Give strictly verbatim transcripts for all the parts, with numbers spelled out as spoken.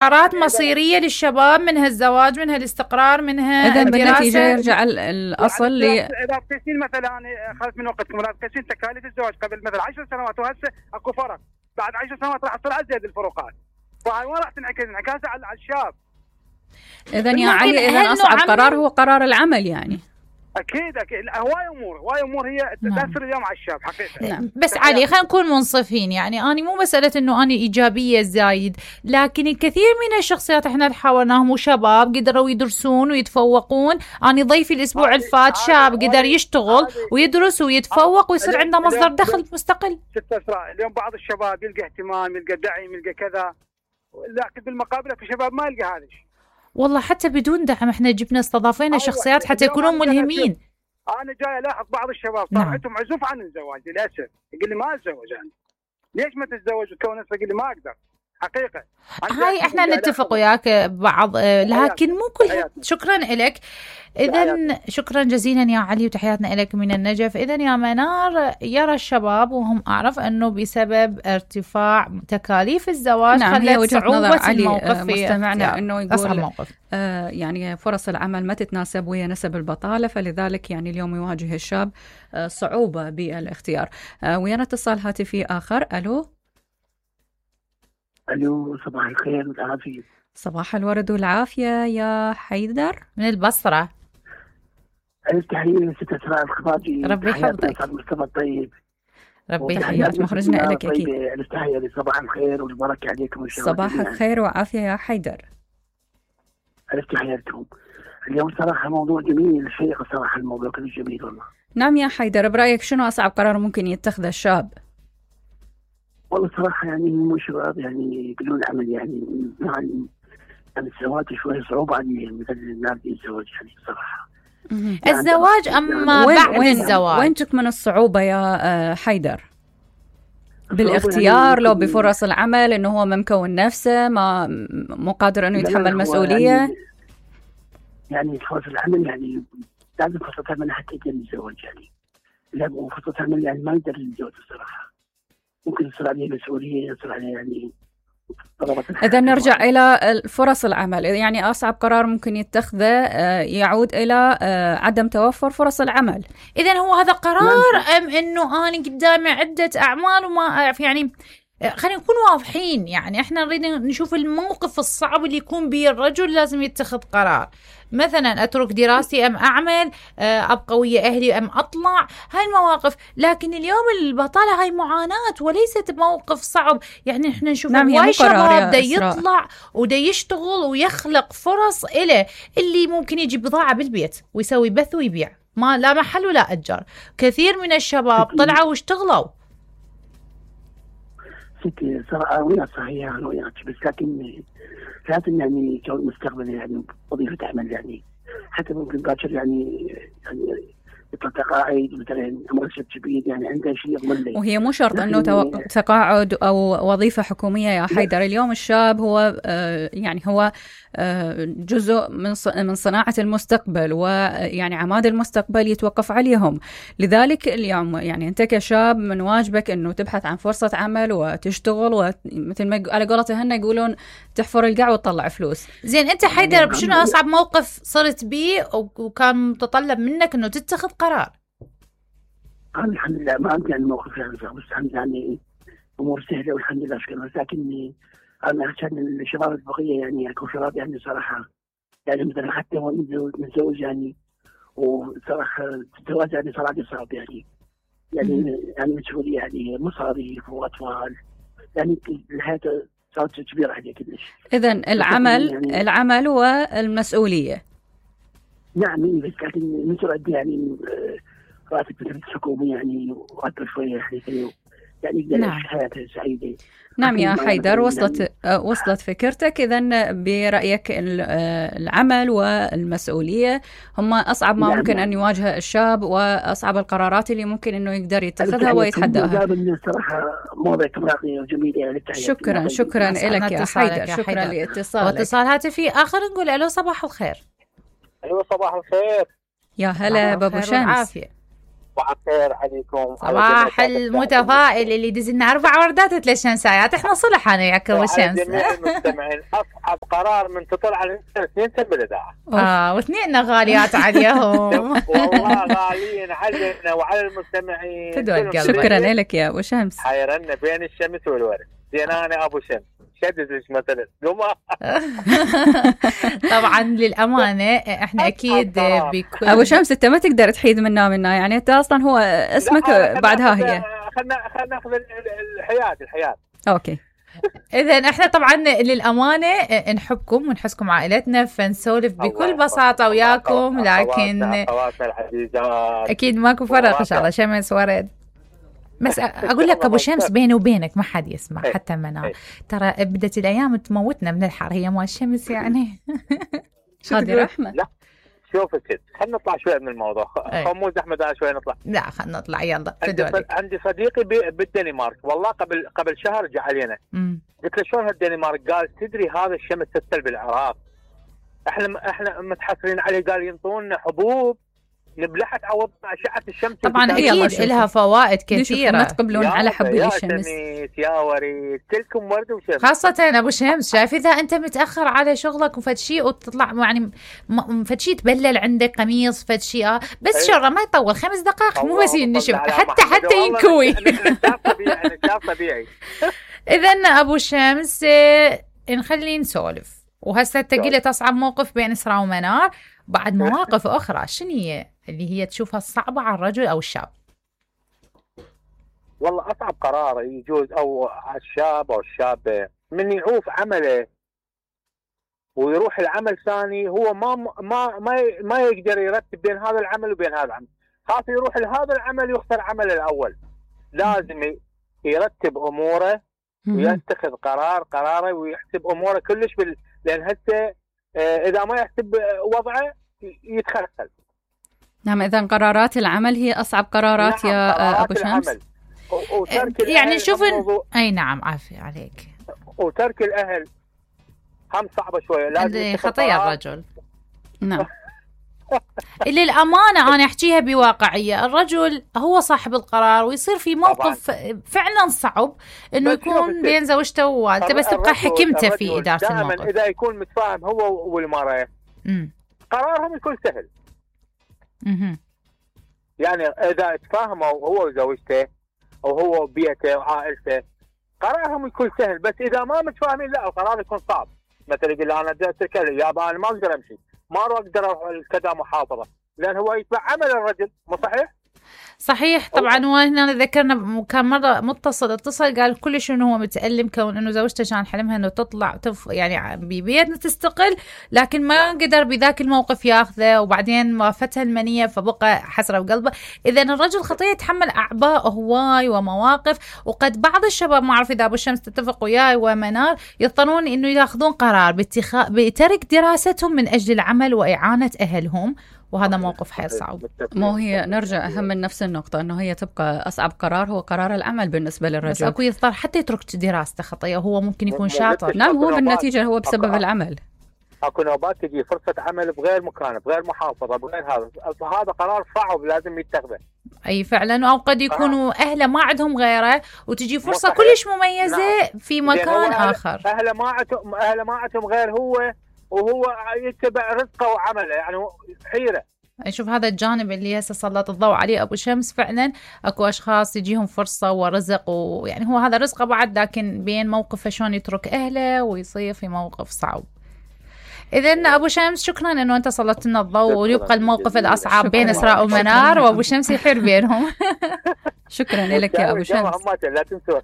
قرارات مصيرية للشباب، منها الزواج، منها الاستقرار، منها إذا الدراسة. بالنتيجة يرجع الأصل ل يعني إذا بتسين مثلا أنا أخذت من وقتكم، إذا بتسين تكاليف الزواج قبل مثلا عشر سنوات وهسه أكو فرق، بعد عشر سنوات راح تصير أزيد الفروقات، فهاي ما راح تنعكس انعكاس على الشاب. إذا يا علي إذا أصعب قرار هو قرار العمل يعني. أكيد أكيد هواي أمور هواي أمور هي تأثر اليوم على الشاب حقيقة. نعم. بس علي خلينا نكون منصفين، يعني أنا مو مسألة إنه أنا إيجابية زايد، لكن الكثير من الشخصيات إحنا اللي حاولناهم وشباب قدروا يدرسون ويتفوقون. أنا ضيفي الأسبوع الفات شاب قدر يشتغل ويدرس ويتفوق ويصير عنده مصدر دخل مستقل. ست أسرع اليوم بعض الشباب يلقى اهتمام، يلقى دعم، يلقى كذا، لكن بالمقابل في شباب ما يلقى هذا الشيء. والله حتى بدون دعم احنا جبنا استضافينا أيوة. شخصيات حتى يكونون ملهمين. انا جاي الاحظ بعض الشباب صار عندهم عزوف عن الزواج للاسف، يقول لي ما اتزوج انا. ليش ما تتزوج وتكون نفسك؟ يقول لي ما اقدر حقيقه. هاي احنا نتفق وياك بعض، لكن مو كل. شكرا لك. اذا شكرا جزيلا يا علي وتحياتنا لك من النجف. اذا يا منار، يرى الشباب وهم اعرف انه بسبب ارتفاع تكاليف الزواج نعم هي وجهة نظر علي مستمعنا انه يقول آه يعني فرص العمل ما تتناسب ويا نسب البطاله، فلذلك يعني اليوم يواجه الشاب آه صعوبه بالاختيار. آه ويانا اتصال هاتفي اخر. الو الو صباح الخير والعافيه. صباح الورد والعافيه يا حيدر من البصره. تحية لست أسراء الخفاجي. ربي يحفظك. مصطفى الطيب. ربي يحييك. مخرجنا لك أكيد. تحية لصباح الخير والبركة عليكم. صباح الخير وعافية يا حيدر. تحياتكم. اليوم صراحة موضوع جميل شيق صراحة، الموضوع كله جميل والله. نعم يا حيدر، برأيك شنو أصعب قرار ممكن يتخذه الشاب؟ والله صراحة يعني مو شباب يعني بدون عمل يعني مع يعني الزواج شوية صعوبة عليهم مثل الناس الزواج يعني صراحة. الزواج أما وين بعد وين الزواج وين تكمن الصعوبة يا حيدر؟ بالاختيار لو بفرص العمل، إنه هو ما مكون نفسه، ما مو قادر إنه يتحمل مسؤولية. يعني, يعني فرص العمل يعني لازم فرصة عمل حتى يقدر يتزوج يعني. لا فرصة عمل يعني ما يقدر يتزوج الصراحة. ممكن يصير عليه مسؤولية، يصير عليه يعني. إذا نرجع إلى فرص العمل، يعني أصعب قرار ممكن يتخذه يعود إلى عدم توفر فرص العمل. إذا هو هذا قرار أم إنه أنا قدامي عدة أعمال وما أعرف؟ يعني خلينا نكون واضحين، يعني إحنا نريد نشوف الموقف الصعب اللي يكون به الرجل لازم يتخذ قرار. مثلا أترك دراستي أم أعمل، أبقى ويا أهلي أم أطلع، هاي المواقف. لكن اليوم البطالة هاي معاناة وليست موقف صعب. يعني إحنا نشوف نعم هواي شباب دا يطلع ودا يشتغل ويخلق فرص إله، اللي ممكن يجيب بضاعة بالبيت ويسوي بث ويبيع، ما لا محل ولا أجر. كثير من الشباب طلعوا واشتغلوا. ستي صراحة ويا صحيح أنا وياك، بس لكن لازم يعني كون مستقبل يعني وظيفة عمل يعني، حتى ممكن باكر يعني يعني يطلع تقاعد مثلا مرشد كبير يعني عنده شيء يضمن له. وهي مو شرط انه توق... تقاعد او وظيفه حكوميه يا حيدر. اليوم الشاب هو آه يعني هو آه جزء من من صناعه المستقبل، ويعني عماد المستقبل يتوقف عليهم. لذلك اليوم يعني انت كشاب من واجبك انه تبحث عن فرصه عمل وتشتغل، ومثل ما على قولتهم يقولون تحفر القاع وتطلع فلوس. زين انت حيدر شنو اصعب موقف صرت بيه وكان متطلب منك انه تتخذ قرار؟ أنا الحمد لله ما عندي يعني موقف يعني صعب، بس الحمد لله يعني أمور سهلة والحمد لله شكرا. لكن أنا عشان الشباب البقية يعني يكون شباب يعني صراحة يعني مثلا حتى نتزوج يعني، وصراحة الزواج يعني صراحة صعب يعني يعني يعني مسؤولية يعني مصاريف وأطفال يعني الحياة صارت كبيرة عليك كلش. إذن العمل يعني العمل والمسؤولية. نعم بس لكن مسؤولية يعني راتب مثل الحكومة يعني وأكثر شوية يعني يعني نعم. حياته سعيدة. نعم يا حيدر وصلت يعني وصلت فكرتك. إذن برأيك العمل والمسؤولية هم أصعب ما نعم. ممكن أن يواجه الشاب، وأصعب القرارات اللي ممكن إنه يقدر يتخذها ويتحداها. الصراحة موضوع راقية وجميلة. شكرا شكرا لك يا حيدر. شكرا لاتصالك. واتصال هاتفي آخر نقول ألو صباح الخير. أيوة صباح الخير. يا هلا بابو شمس. صباح صباح الخير عليكم. صباح المتفائل اللي يدز لنا اربع وردات وثلاث شمسايات. احنا صلح انا وياك ابو شمس. جميع المستمعين اصعب قرار من تطلع على اثنين سنه بالاذاعه. اه واثنين غاليات عليهم. والله غاليين علينا وعلى المستمعين. شكرا لك يا ابو شمس. حيرنا بين الشمس والورد. زين انا ابو شمس شدد ليش مثلا طبعا للامانه احنا اكيد بكل ابو شمس انت ما تقدر تحيد منا منا يعني انت اصلا هو اسمك بعدها هي. خلنا خلنا ناخذ الحياه الحياه اوكي. اذا احنا طبعا للامانه نحبكم ونحسكم عائلتنا فنسولف بكل بساطه وياكم لكن اكيد ماكو فرق ان شاء الله شمس ورد. بس اقول لك ابو شمس بيني وبينك ما حد يسمع حتى منال ترى بدت الايام تموتنا من الحر هي مال الشمس يعني. هذه رحمه. لا شوف كده خلينا نطلع شوي من الموضوع خموز احمد انا شوي نطلع. لا خلينا نطلع يلا. عندي, عندي صديقي بالدنمارك والله قبل قبل شهر جاء علينا قلت له شلون هالدنمارك؟ قال تدري هذا الشمس تسل بالعراق احنا احنا متحسرين عليه. قال ينطونا حبوب نبلحها تعوض أشعة الشمس. طبعا أكيد لها فوائد كثيرة. ما تقبلون على حب الشمس. يا وريد كلكم ورد وشمس. خاصة أبو شمس شايف إذا أنت متأخر على شغلك وفد شيء وتطلع يعني فد شيء تبلل عندك قميص فد شيء آه بس أيه. شر ما يطول خمس دقائق مو بس ينشف حتى حتى ينكوي. طبيعي. إذا أبو شمس نخلي نسولف وهسه تقلت أصعب موقف بين إسراء ومنار بعد مواقف أخرى شنو هي اللي هي تشوفها صعبة على الرجل أو الشاب؟ والله أصعب قرار يجوز أو على الشاب أو الشابة من يعوف عمله ويروح العمل ثاني هو ما ما ما ما يقدر يرتب بين هذا العمل وبين هذا العمل. خاص يروح لهذا العمل يختار عمله الأول. لازم يرتب أموره ويتخذ قرار قراره ويحسب أموره كلش بال... لأن هسه إذا ما يحسب وضعه يتخلخل. نعم إذا قرارات العمل هي أصعب قرارات نعم يا قرارات أبو شمس. يعني شوف أي نعم عافية عليك. وترك الأهل هم صعبة شوية. لازم خطية الرجل. نعم. اللي الأمانة أنا أحكيها بواقعية الرجل هو صاحب القرار ويصير في موقف طبعاً. فعلا صعب إنه يكون بين زوجته ووالدته بس تبقى حكمته في إدارة الموقف. إذا يكون متفاهم هو والمرأة قرارهم يكون سهل. مم. يعني إذا تفاهموا هو وزوجته أو هو وبيته وعائلته قرارهم يكون سهل. بس إذا ما متفاهمين لا القرار يكون صعب. مثلا يقول أنا بدي أتكلم يا أنا ما أقدر أمشي ما أقدر أروح كذا محافظة لأن هو يتبع عمل الرجل مو صحيح؟ صحيح طبعا. وهنا ذكرنا كان مرة متصل اتصل قال كلش انه هو متألم كون انه زوجته كان حلمها انه تطلع تف يعني ببيتنا تستقل لكن ما قدر بذاك الموقف ياخذه وبعدين وافتها المنية فبقى حسرة بقلبه. اذا الرجل خطية يتحمل اعباء هواي ومواقف وقد بعض الشباب ما اعرف اذا ابو الشمس تتفق وياي ومنار يضطرون انه ياخذون قرار باتخاذ بترك دراستهم من اجل العمل واعانة اهلهم وهذا موقف حيل صعب. مو هي نرجع أهم من نفس النقطة أنه هي تبقى أصعب قرار هو قرار العمل بالنسبة للرجل. بس أكو يضطر حتى يترك دراسته خطية وهو ممكن يكون شاطر. نعم هو بالنتيجة هو بسبب العمل. أكو نوبات تجي فرصة عمل بغير مكان بغير محافظة بغير هذا هذا قرار صعب لازم يتخذه. أي فعلا. أو قد يكونوا آه. أهله ما عندهم غيره وتجي فرصة كلش مميزة نعم. في مكان آخر. أهله ما عندهم أهله ما عندهم غير هو وهو يتبع رزقه وعمله يعني حيرة. شوف هذا الجانب اللي هسه سلط الضوء عليه أبو شمس. فعلا أكو أشخاص يجيهم فرصة ورزق ويعني هو هذا رزقه بعد لكن بين موقفه شلون يترك أهله ويصير في موقف صعب. إذن أبو شمس شكرا إنه أنت سلطت لنا الضوء ويبقى الموقف الأصعب بين إسراء ومنار وأبو شمس يحير بينهم. شكرا لك يا أبو شمس.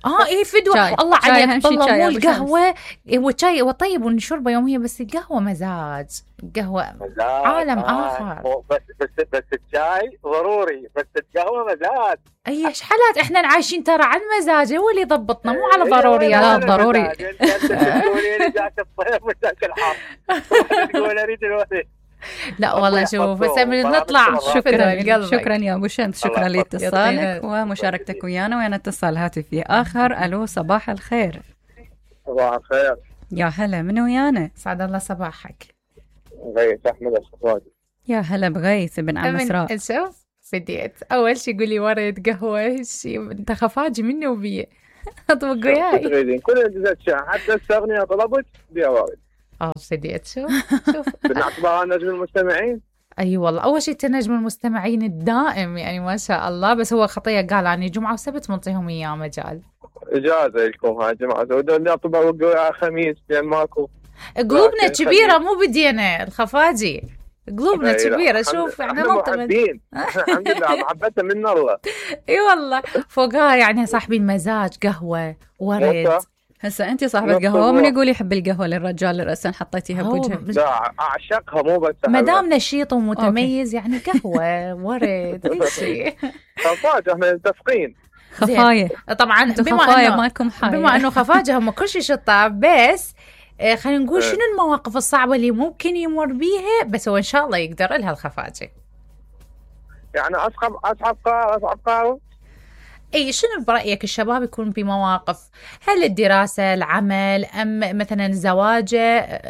آه إيه فدوة الله عليك والله مو القهوة والشاي وطيب ونشربه يوميا بس القهوة مزاج القهوة عالم آخر. بس بس بس الشاي ضروري بس القهوة مزاج. أي إيش حالات إحنا عايشين ترى على المزاج هو اللي ضبطنا مو على ضروريات. لا ضروري. لا والله شوف بس نطلع. شكرا شكرا يا ابو شمس. شكرا لاتصالك ومشاركتك ويانا. ويانا اتصال هاتفي اخر. الو صباح الخير. صباح الخير. يا هلا من ويانا؟ سعد الله صباحك. غيث احمد الصفاقي. يا هلا بغيث بن عم اسراء. شوف بديت أول شي قولي ورد قهوة شي أنت خفاجي مني وبيه أطبق وياي تريدين كل الأشياء حتى الأغنية طلبت بيها ورد. اه بديت شوف شوف بنعتبرها نجم المستمعين. اي أيوة والله اول شيء نجم المستمعين الدائم يعني ما شاء الله. بس هو خطيه قال يعني جمعه وسبت منطيهم اياه مجال اجازه لكم هاي جماعه ودنا نطبق خميس لان ماكو قلوبنا كبيره مو بدينا الخفاجي قلوبنا كبيره شوف يعني نطلب الحمد لله محبتها من الله. اي والله فوقها يعني صاحبين مزاج قهوه ورد. هسه انت صاحبه قهوه من يقول يحب القهوه للرجال اللي راسا حطيتيها بوجهك؟ لا اعشقها مو بس ما دام نشيط ومتميز يعني قهوه ورد كل شيء. خفاجه احنا متفقين خفايه طبعا بما انه مالكم حاجه بما انه خفاجه هم كل شيء شطه بس خلينا نقول شنو المواقف الصعبه اللي ممكن يمر بيها بس هو ان شاء الله يقدر لها الخفاجه. يعني اصعب اصعب قرار اصعب قرار اي شنو برأيك الشباب يكون بمواقف هل الدراسة العمل ام مثلا زواجه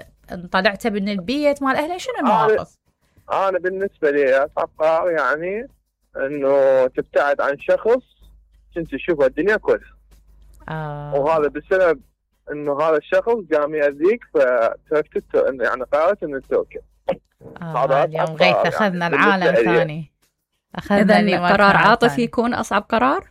طلعت من البيت مال اهله شنو المواقف؟ انا, أنا بالنسبة لي اصعب قرار يعني انه تبتعد عن شخص كنت تشوفه الدنيا كلها آه. وهذا بسبب انه هذا الشخص قام يأذيك فتركت يعني قررت انه تتركه. آه اليوم غيث اخذنا يعني العالم ثاني. اذا قرار عاطفي يكون اصعب قرار؟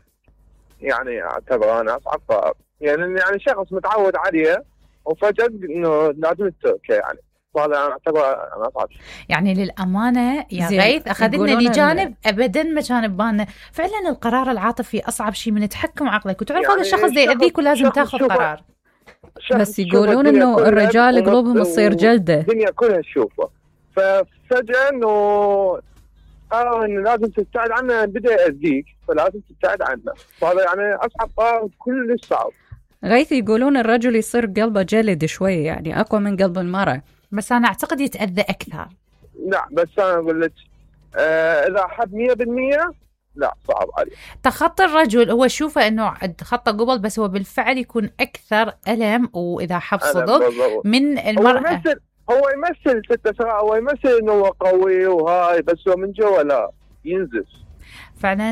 يعني اعتبر انا اصعب قرار يعني يعني شخص متعود عليه وفجأة انه لازم تتركه يعني هذا انا اعتبر انا اصعب يعني للامانه يا غيث اخذنا لي جانب ابدا ما كان ببالنا فعلا القرار العاطفي اصعب شيء من تحكم عقلك وتعرف يعني هذا الشخص ده يأذيك ولازم تاخذ قرار. بس يقولون انه الرجال قلوبهم تصير جلده الدنيا كلها تشوفه ففجأة انه قرر انه لازم تبتعد عنه بدا يأذيك فلازم تبتعد عنه فهذا يعني اصعب قرار كلش صعب. غيث يقولون الرجل يصير قلبه جلد شوي يعني اقوى من قلب المرأة بس انا اعتقد يتأذى اكثر. لا بس انا اقول لك آه اذا حد مية بالمية لا صعب عليه. تخطي الرجل هو شوفه انه تخطى قبل بس هو بالفعل يكون اكثر ألم واذا حب صدق من المرأة. هو يمثل هو يمثل ستة ساعة هو يمثل انه هو قوي وهاي بس هو من جوا لا ينزف. فعلا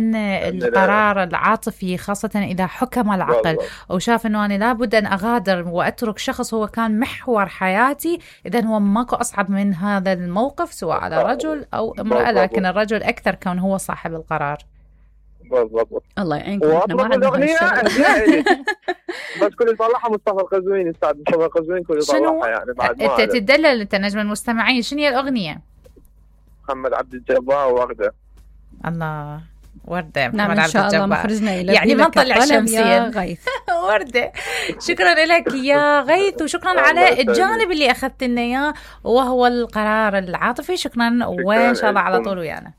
القرار العاطفي خاصة إذا حكم العقل وشاف أنه أنا لابد أن أغادر وأترك شخص هو كان محور حياتي إذن هو ماكو أصعب من هذا الموقف سواء على رجل أو امرأة لكن الرجل أكثر كون هو صاحب القرار. بالضبط. الله يعينكم. واطلب الأغنية بس كل يطلعها مصطفى القزويني استاذ مصطفى القزويني كل يطلعها يعني بعد ما أنت تدلل أنت نجم المستمعين شنو هي الأغنية؟ محمد عبد الجبار وردة. الله وردة نعم إن شاء الله مخرجنا إلى يعني ما نطلع شمسيا غيث. وردة شكرا لك يا غيث وشكرا على الجانب اللي أخذت لنا إياه وهو القرار العاطفي. شكرا وإن شاء الله على طول ويانا.